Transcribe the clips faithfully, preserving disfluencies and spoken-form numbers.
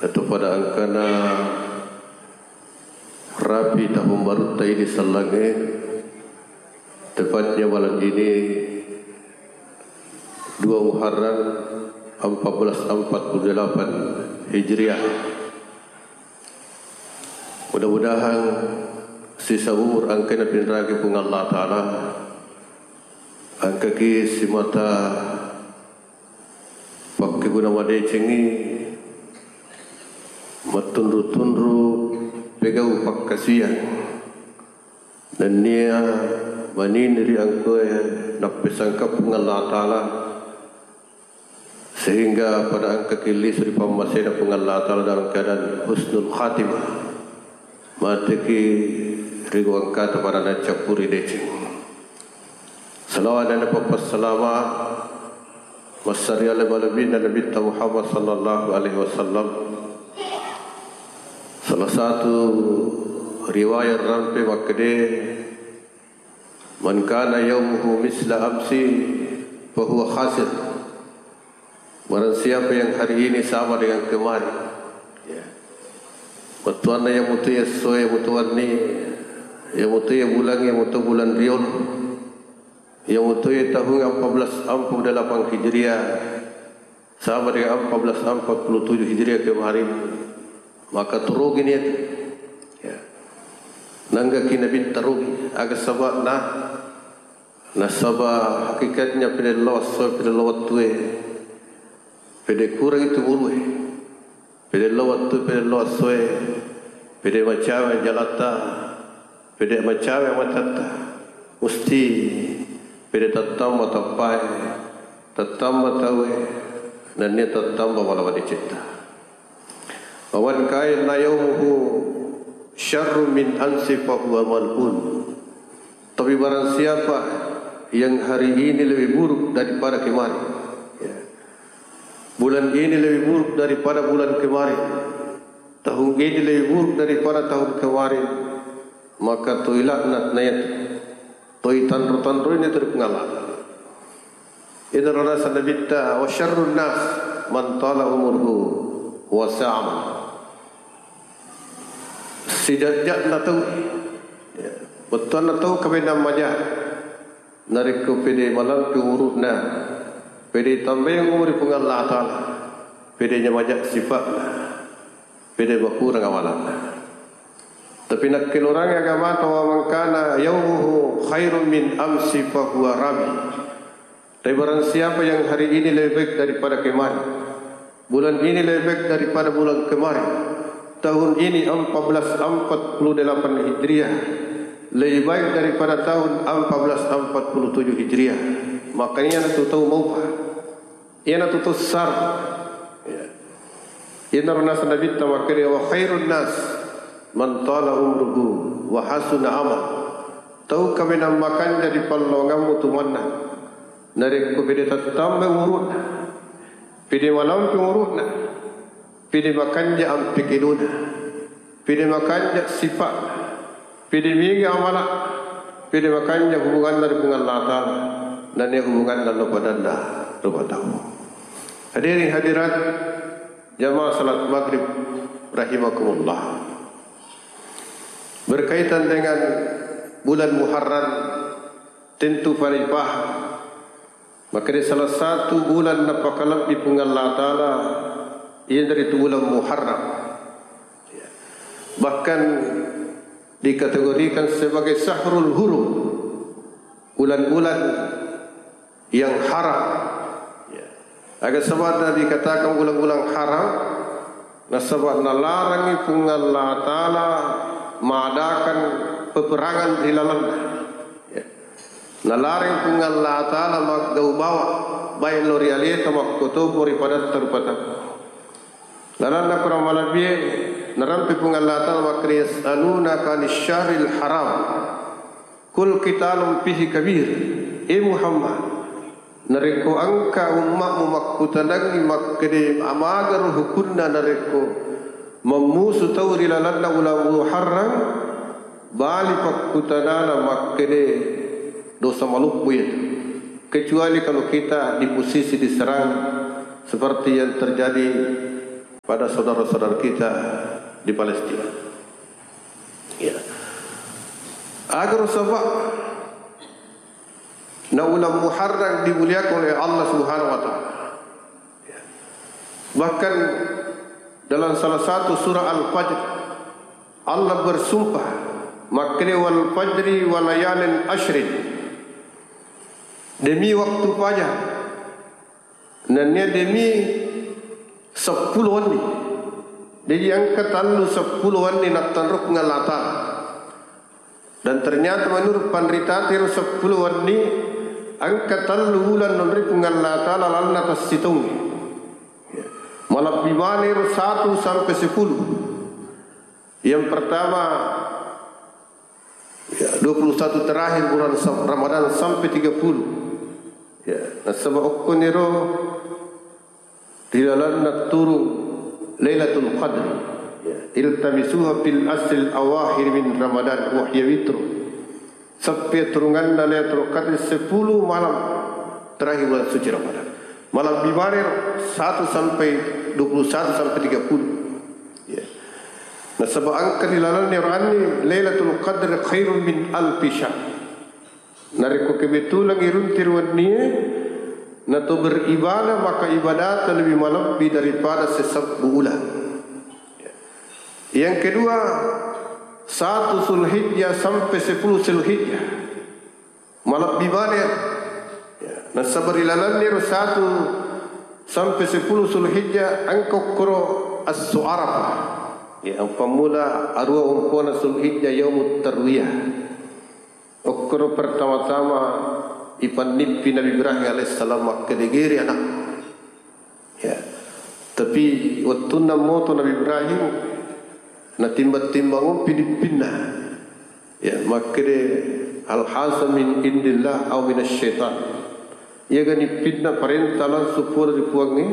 Atau pada engkana rapi tahun barutta ini sellangnge, tepatnya malam ini, dua Muharram empat belas empat puluh delapan Hijriah. Mudah-mudahan sisa umur engkana pinragi Puang Allah Ta'ala, engkaki simata pakkeguna madecengngi, mattunru-tunru pegau pakkasiwiang, nennia manini ri engkae nappesangka Puang Allah Ta'ala, sehingga pada engkaki lisu ri pammasena Puang Allah Ta'ala dalam keadaan husnul khatimah. Mateki ri engkata pada naccappuri deceng. Salawat dan papassalama massariale malebina Nabitta Muhammad sallallahu alaihi wasallam. Salah satu riwayat rampe makkede, "Man kana yaumuhu misla amsi fahuwa khasir." Barang siapa yang hari ini sama dengan kemarin, ya, bettuanna iya mutu essoe, iya mutu wenni, iya mutu bulangnge, iya mutu bulan riolo, iya mutu tahun empat belas empat puluh delapan Hijriah, sama dengan empat belas empat puluh tujuh Hijriah kemarin, maka turugi niat. Ya. Nanggaki Nabitta rugi, aga saba'na? Nasaba hakikatnya pede lao esso, pede lao wettue, pede kurangi tumulue, pede lao wettu, pede lao essoe, pede macawe jalatta, pede macawe matatta, musti pede tattamba tappae, tattamba taue, nennia tattamba mala madecetta. Wa man kana yaumuhu syarrun min amsi fahuwa mal'un. Tapi barang siapa yang hari ini lebih buruk daripada kemarin, ya, bulan ini lebih buruk daripada bulan kemarin, tahun ini lebih buruk daripada tahun kemarin, maka toi laknat na itu, toi tanro-tanro ini terpengalah. Itu rasa Nabitta, "Wa syarrun nas man tala umruhu wa sa'a amaluhu." Sijajja'na tau, ya, bettuanna tau kaminang maja, narekko pede malampe umuru'na, pede tambaeng umuri Puang Allah Ta'ala, pede nyamaja sifa'na, pede makurang amalanna. Tapi nakkeluarangngi agamata, "Wa man kana yaumuhu khairun min amsi fahuwa rabi." Tapi barang siapa yang hari ini lebih baik daripada kemarin, bulan ini lebih baik daripada bulan kemarin, tahun ini empat belas empat puluh delapan Hijriah lebih baik daripada tahun empat belas empat puluh tujuh Hijriah, maka iyanatu tau maupa, iyanatu tau sar. Ya. Iyanaro naseng Nabitta makkeda, "Wa khairun nas man tala umruhu wa hasuna amal." Tau kaminang makanja ri pallongammu tu mennang, narekko pede tattamba umuru'na, pede malampe umuru'na, pede makanja ampekedona, pede makanja sifa'na, pede mega amala, pede makanja hubunganna ri Puang Allah Ta'ala, nennia hubunganna lo padanna rupa tau. Hadirin hadirat, jamaah salat maghrib rahimakumullah. Berkaitan dengan bulan Muharram, tentu pada dipaham, makkeda salah satu bulan napakalebbi Puang Allah Ta'ala, iyanaritu bulan Muharram. Bahkan dikategorikan sebagai syahrul hurum, bulan-bulan yang haram. Ya. Aga saba'na dikatakan bulan-bulan haram? Nasaba nalarangi Puang Allah Ta'ala madakan peperangan ri lalenna. Ya. Nalarang Puang Allah Ta'ala maggau bawa, baik lo ri aleta makkotopo ri padatta rupa tau. Lalanna Quran malebbie, narampe Puang Allah Ta'ala makkeda, "Yas'alunaka 'anis syahril haram. Qul qitalun fihi kabir." E Muhammad, narekko engka ummatmu makkutanangngi makkeda amagaro hukunna narekko mammusu tau ri lalenna uleng Muharram, bali pakkutanana makkeda dosa maloppo iyatu. Kecuali kalau kita di posisi diserang seperti yang terjadi pada saudara-saudara kita di Palestina. Ya. Agar sebab na ulang Muharram dimuliakan oleh Allah Subhanahu wa Ta'ala. Ya. Bahkan dalam salah satu surah Al-Fajr, Allah bersumpah, makkeda, "Wal fajri wa layalin asyrin." Demi waktu fajar, nennia demi seppulo wenni. Jadi engka tellu seppulo wenni nattanrukna Allah Ta'ala. Dan ternyata menurut panrita, tiro seppulo wenni, engka tellu uleng nonroi Puang Allah Ta'ala lalenna tessitongnge. Malebbi maneng ero satu sampai sepuluh. Yang pertama, ya, dua puluh satu terakhir bulan Sa-, Ramadan sampai tiga puluh. Ya, nasaba okkoniro ri lalenna turung Lailatul Qadr. Ya, iltamisuha fil ashril awakhir min Ramadan wa hiya witru. Sappi turunganna Lailatul Qadr sepuluh malam terakhir bulan suci Ramadan. Malebbi maneng satu sampai dua puluh satu sampai tiga puluh. Ya. Nasaba engka ri lalenna ero wenni, "Lailatul Qadr khairun min alfi syahr." Narekko kebetulan iruntu ri wennie, na to beribadah, maka ibadata lebih malebbi daripada sesebbu uleng. Yang kedua, satu Zulhijjah sampai sepuluh Zulhijjah. Malebbi maneng. Ya, nasaba ri lalenna ero satu sampai sepuluh Zulhijjah engka okkoro esso Arafah. Ya, pammula aruwa ompona Zulhijjah yaumut tarwiyah. Okkoro pertama-tama ipannippi Nabi Ibrahim alaihissalam makkeda, "Gere anak." Ya. Tapi wettunna moto Nabi Ibrahim, natimbang-timbang umpi nippinna. Ya, makkeda, "Hal haza min indillah au minasy syaitan?" Iyaga nippinna parenta langsung pole ri Puangnge,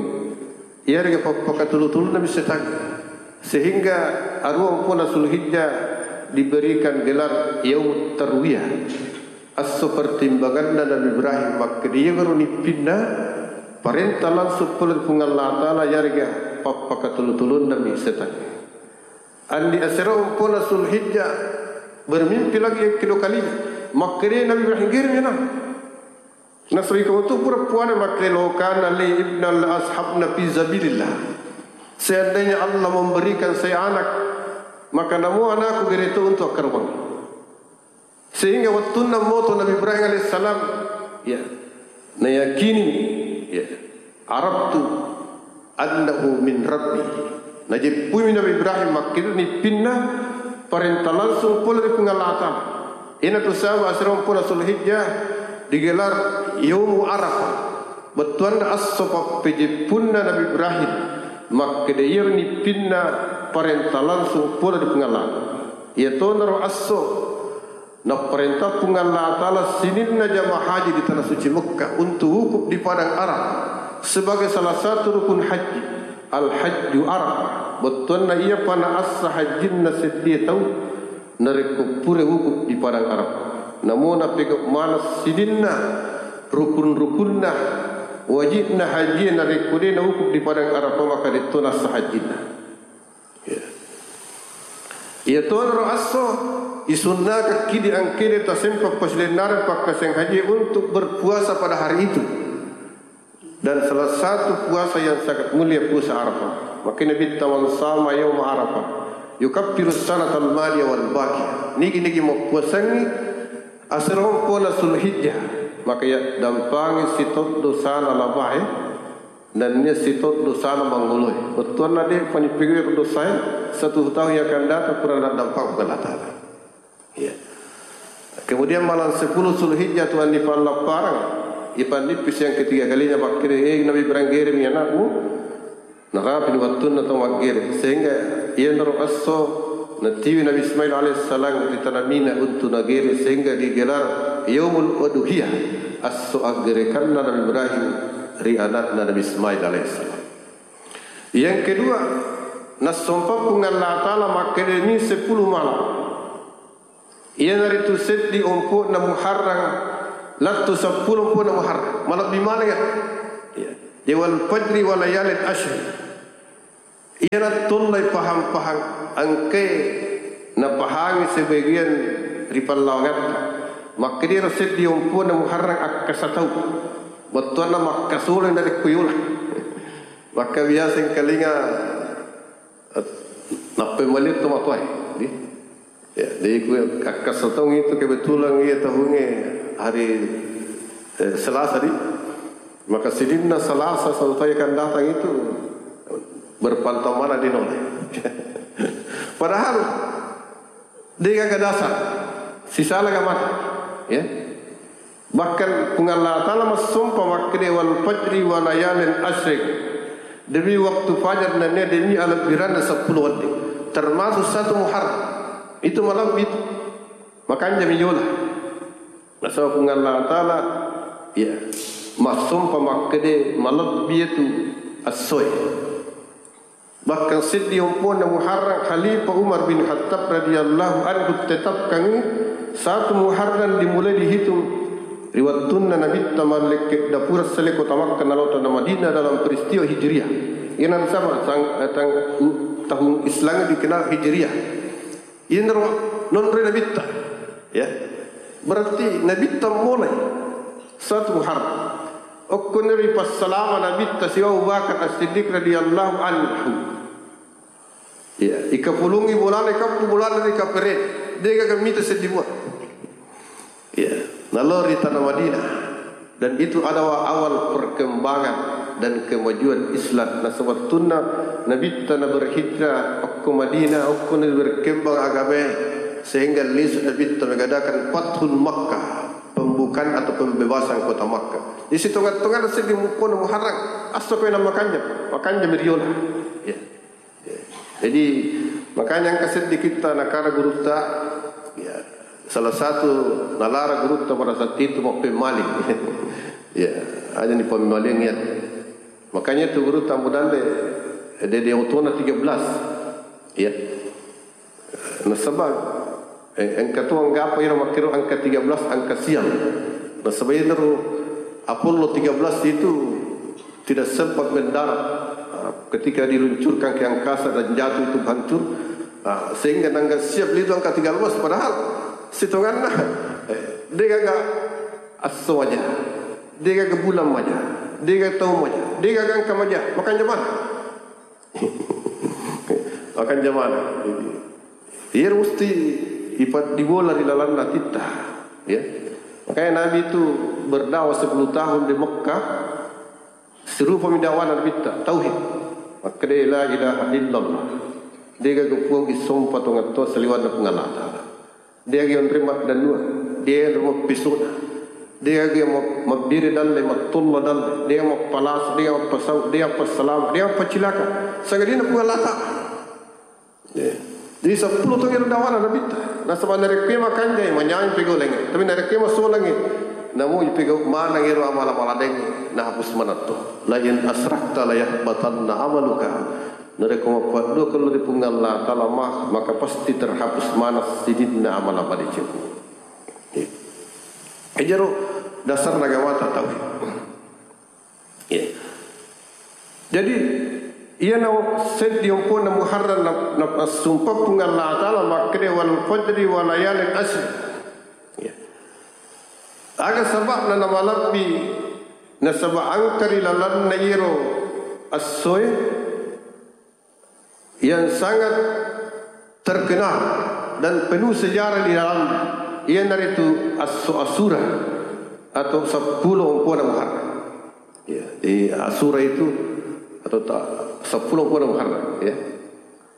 iyarega pappakatulu-tulunna mi setang. Sehingga aruwa ompona Zulhijjah diberikan gelar Yaumut Tarwiyah. Esso pertimbanganna Nabi Ibrahim makkeda, iyagaro nippinna parenta langsung pole ri Puang Allah Ta'ala, iyarega pappakatulu-tulunna mi setang. Andi asera ompona Zulhijjah, bermimpi lagi yang kedua kalinya. Makkeda Nabi Ibrahim, "Geremi anak." Nasaba iko tu pura puada makkeda, "Law kana li ibnan la azhabna fi sabilillah." Seandainya Allah memberikan saya anak, maka namo anakku gere to untuk akkarobang. Sehingga wettunna moto Nabi Ibrahim alaihissalam, ya, nayakini, ya, araftu annahu min Rabbi. Najeppumi Nabi Ibrahim makkeda nippinna parenta langsung pole ri Puang Allah Ta'ala. Iyanatu sabab asera ompona Zulhijjah digelar Yaumu Arafah. Bettuanna esso pappejeppunna Nabi Ibrahim makkeda iyaro nippinna parenta langsung pole ri Puang Allah. Iyatonaro esso Napparentah Puang Allah Ta'ala sininna jamaah haji di Tanah Suci Mekkah untuk wukuf di Padang Arafah sebagai salah satu rukun haji. Al-Hajju Arafah. Bettuanna iyapa naassa hajjinna seddie tau narekko pura wukuf di Padang Arafah. Namo napegau maneng sininna rukun-rukunna, wajibna haji narekko de' nawukuf di Padang Arafah, maka de'to naassa hajjinna. Ya. Iyatonaro esso isunnakekki di engkede tasempa pasilennareng pakkasiwiang haji untuk berpuasa pada hari itu. Dan salah satu puasa yang sangat mulia puasa Arafah. Makanya Nabitta, "Man sama yauma Arafah yukaffiru sanatal madiya wal baqiyah." Nigi-nigi mappuasangngi asera ompona Zulhijjah, maka yaddampangi sitau dosana labae. Nennia sitau dosana mangoloe. Bettuanna de' panipigau dosae, satu tahun yang akan datang pura naddampang Allah Ta'ala. Ya. Kemudian malam sepuluh Zulhijjah tu andi pallappareng, ipannippi siang ketiga kalinya makkeda, "Eh, Nabi Ibrahim, geremi anakmu." Narapini wettunna tau maggere, sehingga iyanaro esso natiwi Nabi Ismail alaihissalam ri tana Mina untu nagere, sehingga digelar Yaumul Udhiyah, esso aggerekanna Nabi Ibrahim ri anakna Nabi Ismail alaihissalam. Yang kedua, nassompa Puang Allah Ta'ala makkedani sepuluh malam. Iyanaritu seddi ompo'na Muharram, lettu seppulo ompo'na Muharram. Malebbi maneng, ya. Ya. Wal fajri wa layalin asyr. Iyana tollai pahang-pahang engkae napahangi sebagian ri pallawangatta. Makkediro seddi ompona Muharram akkasa tau. Bettuanna makkasolo narekko yola. Makka biasa engkalinga, eh, nappai maliu to matoae. Di? Ya, jadi ku akkasa taung itu kebetulan iya tahungnge hari, eh, Selasa di. Maka sininna Selasa satu tahun akan datang itu berpantau mana di nol. Padahal degaga dasar, sisala ga mata, ya. Bahkan Puang Allah Ta'ala massompa makkeda, "Wal fajri wa layalin asyrik." Demi waktu fajar nennia demi alebbiranna seppulo wedding. Termasuk satu Muharram. Itu malam itu. Makanya miyola. Nasaba Puang Allah Ta'ala, ya, massompa makkeda malebbi itu essoe. Bahkan seddi ompona Muharram, Khalifah Umar bin Khattab radhiyallahu anhu tetapkangngi satu Muharram dimulai dihitung ri wettunna Nabitta mallekke dapura selle kota Makkah nalao tana Madinah dalam peristiwa Hijriah. Iyana nasaba tang-, tang-, tahun Islam dikenal Hijriah. Iyanaro nonroi Nabitta. Ya. Berarti Nabitta mulai satu Muharram. Okkoniro ipassalama Nabitta sibawa Abu Bakar As-Siddiq radhiyallahu anhu. Ya, ikapulungi bolana, ikappu bolana ri kapere. Degaga mita seddi mua. Ya, nalao ri tana Madinah. Dan itu adalah awal perkembangan dan kemajuan Islam. Nah, sebetulna Nabitta na berhijrah okko Madinah, okko na berkembang agamae, sehingga lisu Nabitta mengadakan Fathul Makkah, pembukaan atau pembebasan kota Makkah. Di sitongan-tongan seddi mukkona Muharram, asso koe na makanjam, makanjam riola. Ya. Jadi, makanya engka seddi kitta nakara gurutta, ya, salah satu nalara gurutta pada saat itu mappemmaling. Ya, aja ni pemmaling ya. Makanya itu gurutta mudalle, dede otona tiga belas. Ya. Nasaba, eh, engka tu anggapa iro makkiro angka tiga belas, angka sial. Nasaba iro Apollo tiga belas itu tidak sempat mendarat. Ah, ketika diluncurkan ke angkasa dan jatuh itu hancur, ah, sehingga nangga siap litu angka tiga belas, padahal sitonganna, eh, degaga asso maja, degaga bulan maja, degaga tau maja, degaga angka maja, makanya mana? Makanya mana? Iya, mesti ipat dibola di lalanna titta, ya. Makanya Nabi itu berdakwah sepuluh tahun di Mekah. Sirupami dakwana Nabitta, tauhid. Makkeda, "La ilaha illallah." Degaga puang isompa tongattoa saliwanna Puang Allah Ta'ala. Degaga onreng maddannua, degaga mappisona. Degaga ma-, mabbiri dalle, mattolla dalle, degaga mappalasa, degaga mappasau, degaga mappassalama, degaga mappacilaka. Sangadinna Puang Allah Ta'ala. Ya. Jadi seppulo tongiro dakwana Nabitta. Nasaba narekko makanjai, manyameng pegau laingnge. Tapi narekko masolangngi, namo ipegau maneng ero amala-mala laingnge, nahapus maneng to. "La in asyrakta la yahbatanna amaluka." Narekko mappaddua kello ri Puang Allah Ta'ala ma-, maka pasti terhapus maneng sininna amala madeceng. Ya. Ejaro dasarna agamata tauhid. Ya. Jadi, iyana seddi ompona Muharram na, na, sumpah Puang Allah Ta'ala makkeda, "Wal fajri wa layalin asyr." Ya. Aga saba'na namalebbi, nasaba engka ri lalenna iyaro essoe, yang sangat terkenal dan penuh sejarah di dalam, iyanaritu Asu-, Asura atau seppulo ompona Muharram. Ya, di Asura itu atau ta-, seppulo ompona Muharram, ya.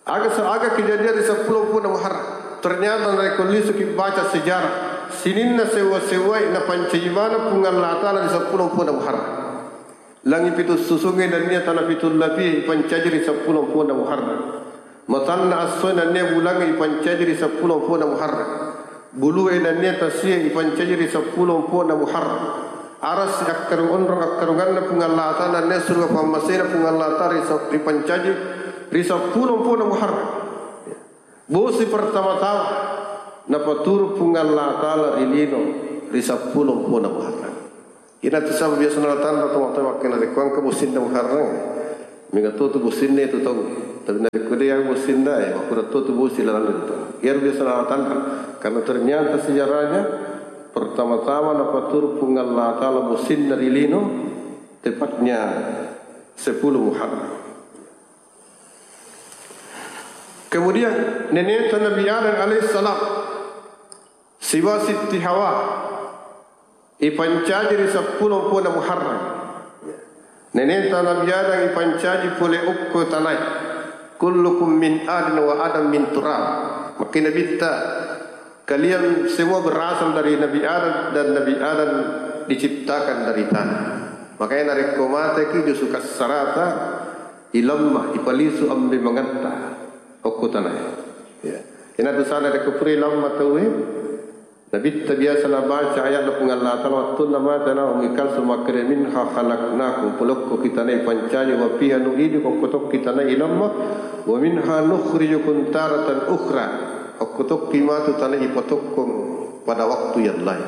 Aga se-, aga kejadian di seppulo ompona Muharram. Ternyata narekko lisu ki baca sejarah, sininna sewwa-sewwae napancaji maneng Puang Allah Ta'ala di seppulo ompona Muharram. Langi pitu susungnge nennia tana pitu lapie ipancaji ri seppulo ompona Muharram. Matanna essoe nennia bulangnge ipancaji ri seppulo ompona Muharram. Bulue nennia tasie ipancaji ri seppulo ompona Muharram. Arassi akkarung onrong akkarunganna Puang Allah Ta'ala nennia suruga pammasena Puang Allah Ta'ala ri se-, ripancaji ri seppulo ompona Muharram. Bosi pertama-tama napaturu Puang Allah Ta'ala ri lino ri seppulo ompona Muharram. Ina tu sabab biasa natanra tomatoa makkeda, narekko engka bosinna Muharram, mega to tu bosinna tu tau. Tapi narekko de' yang bosinna, eh, makkuro to tu bosi lalang itu. Iyaro biasa natanra. Karena ternyata sejarahnya, pertama-tama napaturu Puang Allah Ta'ala bosinna ri lino, tepatnya sepuluh Muharram. Kemudian, neneta Nabi Adam alaihissalam, sibawa Sitti Hawa, ipancaji ri seppulo mpona Muharram. Neneta Nabi Adam ipancaji pole okko tanae. "Kullukum min adin wa Adam min turab." Makkeda Nabitta, "Kalian semua berasal dari Nabi Adam dan Nabi Adam diciptakan dari tanah." Makanya narekko mateki, jusu kassarata, ilamma, ipalisu ambe mangetta okko tanae. Ya. Ina dosana rekko pura ilamma tauwe, Nabitta biasa nabaca ayatna Puang Allah Ta'ala, wettunna mate na Ummi Kalsum makkeda, "Minha khalaqnakum," pole okko ki tanae ipancaji, "wa fiha nu'idukum," okko tokki tanae ilamma, "wa minha nukhrijukum taratan ukhra," okko tokki matu tanae ipatokkong pada waktu yang lain.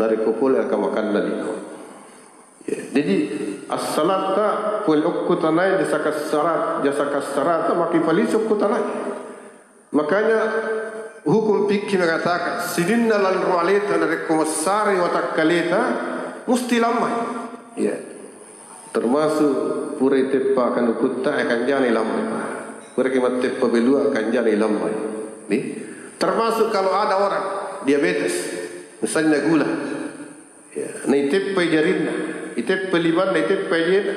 Narekko pole engka makanna liko. Ya, jadi, assalatta pole okko tanae jasa kassara-, jasa kassarata makkipalisu okko tanae. Makanya hukum fikih mengatakan, sininna lanro aleta narekko massarei watakkaleta, musti lammai. Ya. Termasuk pura iteppa kanukutta, eh, kanjana ilammai. Pura ki matteppa belua, kanjana ilammai. Nih. Termasuk kalau ada orang diabetes, misalnya gula. Ya, naiteppai jarinna, iteppai limanna, iteppai ajena.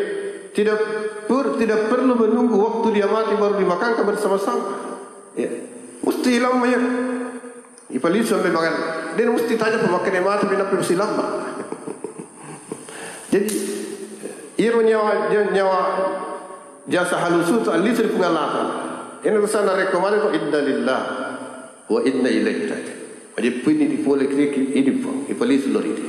Tidak per-, tidak perlu menunggu waktu dia mati baru dimakankan bersama-sama. Ya, musti ilamma ya. Ipalisu ambe mangan. De' musti taja pemakai mati, pinappi musti lamma. Jadi, iro nyawa, nyawa jasa halusu tu alisu ri Puang Allah Ta'ala. Ina dosana rekko mate ko, "Inna lillah wa inna ilaihi raji'un." Majeppu ini dipole kiri, ini pole, ipalisu lori de.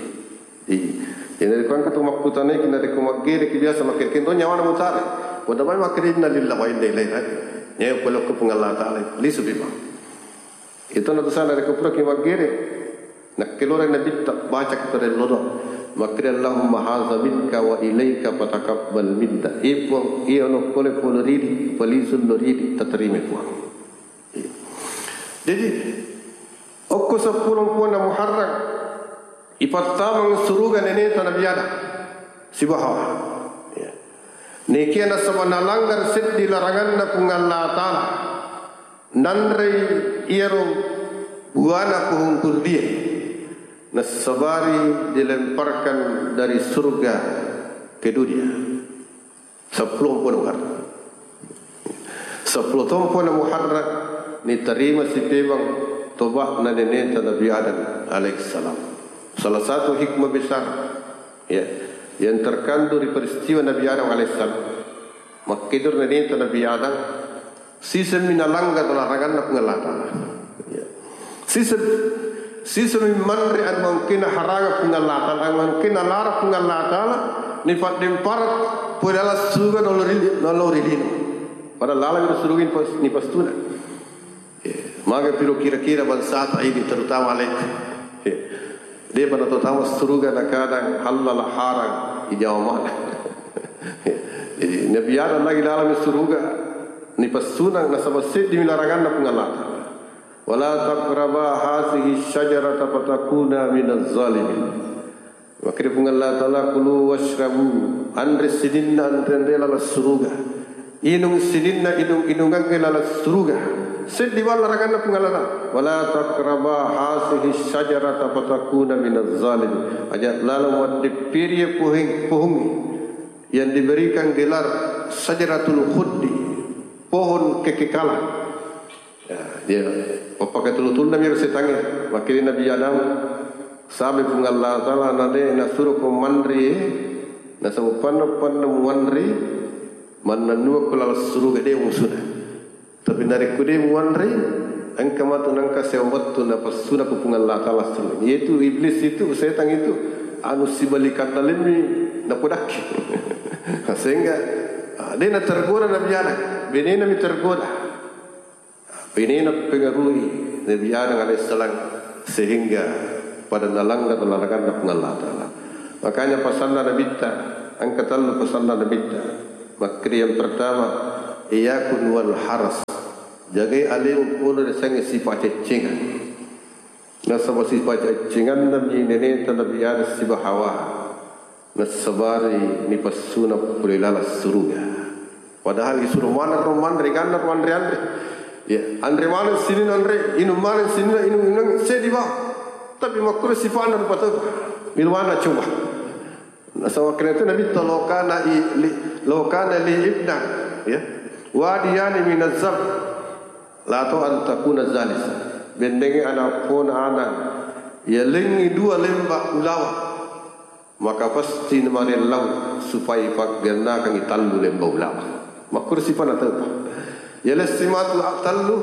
Iya. Jadi, narekko engka tu makkutanai ki, narekko maggere ki biasa makkeda, "Kento nyawana mutare." Wada mai makkeda, "Inna lillahi wa inna ilaihi raji'un." Nyawa pole okko Puang Allah Ta'ala, lisu memang. Itu na dosana narekko pura ki maggere. Nakkelore Nabitta, baca ki pada loro. Makkeda, "Allahumma hadza minka wa ilaika fataqabbal minna." Eh, Puang, iya ono pole pole ridi, palisu lori de, tatarima Puang. Jadi, okko seppulo mpona Muharram, ipattameng suruga neneta Nabi Adam sibawa Hawa. Ya. Nekia nasaba nalanggar seddi laranganna Puang Allah Ta'ala, nanrei iyaro buana pohon khuldié, nassabari dilemparkan dari surga ke dunia. Seppulo mpona Muharram. Seppulo to mpona Muharram, nitarima sipemeng toba'na neneta Nabi Adam alaihissalam. Salah satu hikmah besar, ya, yang terkandung di peristiwa Nabi Adam alaihissalam. Makkedoro neneta Nabi Adam, Siseng mi nalanggar laranganna Puang Allah Ta'ala. Ya. Siseng, siseng mi manre anu engkae naharangang Puang Allah Ta'ala, anu engkae nalarang Puang Allah Ta'ala, nipaddempareng pole laleng suruga nalori, nalori lino. Padahal laleng ri suruga nipas-, nipastunang. Ya. Maga piro kira-kira bangsata ini, terutama aleta. Ya. De'pa natau tama suruga nakadang halal haram ijawa mana. Jadi, Nabi Adam lagi laleng suruga, nipassunang nasaba seddi mi laranganna Puang Allah Ta'ala. "Wala taqraba hadzihi syajarata fatakuna minaz zalimin." Makkeda Puang Allah Ta'ala, "Kulu washrabu," anre sininna anre-anre laleng suruga. Inung sininna inung-inungangnge laleng suruga. Seddi bawang laranganna Puang Allah Ta'ala. "Wala taqraba hadzihi syajarata fatakuna minaz zalimin." Aja laleng waddeppiri pohon, pohon yang diberikan gelar Syajaratul Khuldi, pohon kekekalan. Ya, dia pappakatulu-tulunna mi ro setangnge. Makkeda Nabi Adam, sabai Puang Allah Ta'ala, na de' nasuro ko manre, nasaba panna-panna muanre, mannennua ko laleng suruga de' musuna. Tapi narekko de' muanre, engka matu nengka sewwa wettu napassunang ko Puang Allah Ta'ala suruga. Yaitu iblis itu, setan itu, anu sibalikanna lemmi napodakki. Sehingga, ah, de' natergoda Nabi Adam, benena mi tergoda. Benena pengaruhi Nabi Adam alaihissalam sehingga pada nalanggar laranganna Puang Allah Ta'ala. Makanya pasanna Nabitta, engka tellu pasanna Nabitta. Makkeda yang pertama, Iyyakun wal haras. Jagai alemu pole riasengnge sipa ceccengan. Nasaba sipa ceccenganna mi neneta Nabi Adam siba Hawa. Nassabari nipassuna pole laleng suruga. Padahal disuruh maneng ro manre, ganna ro anre-anre. Ya, anre maneng sininna anre, inung maneng sininna inung, inung sedi ba. Tapi makkuro sipa'na rupa tau. Milwana coba. Nasaba kenna itu Nabi ta, "Law kana i-, li, law kana li ibna, ya, wadiyani minaz zab, la tu an takuna zalis." Bennengnge ana pona ana, ya, lengngi dua lemba ulawa, maka pasti namarellau supaya paggannakangi tallu lemba ulawa. Makkuro sipana taupa. Ya, lessi matu tallu,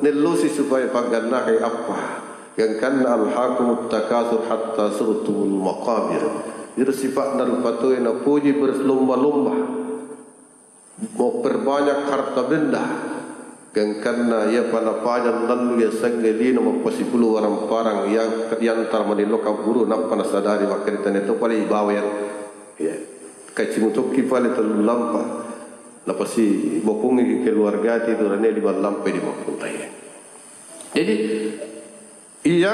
nellosi supaya paggannakangi appa. Gangkanna alhaakumut takasur hatta zurtumul maqabir. Iro sipa'na rupa tauwe napoji berlomba-lomba. Memperbanyak harta benda. Gangkanna iyapa napajang lallu yasengnge lino mappasipulung warang-parang yang, yang tara manillo kabburu nappa nasadari makkedai tania to pale ibawa iyaro. Ya. Kacimu tokki pale tellu lampa. Napasi bokungi keluarga ti durane lima lampa di mappuntai. Jadi, iya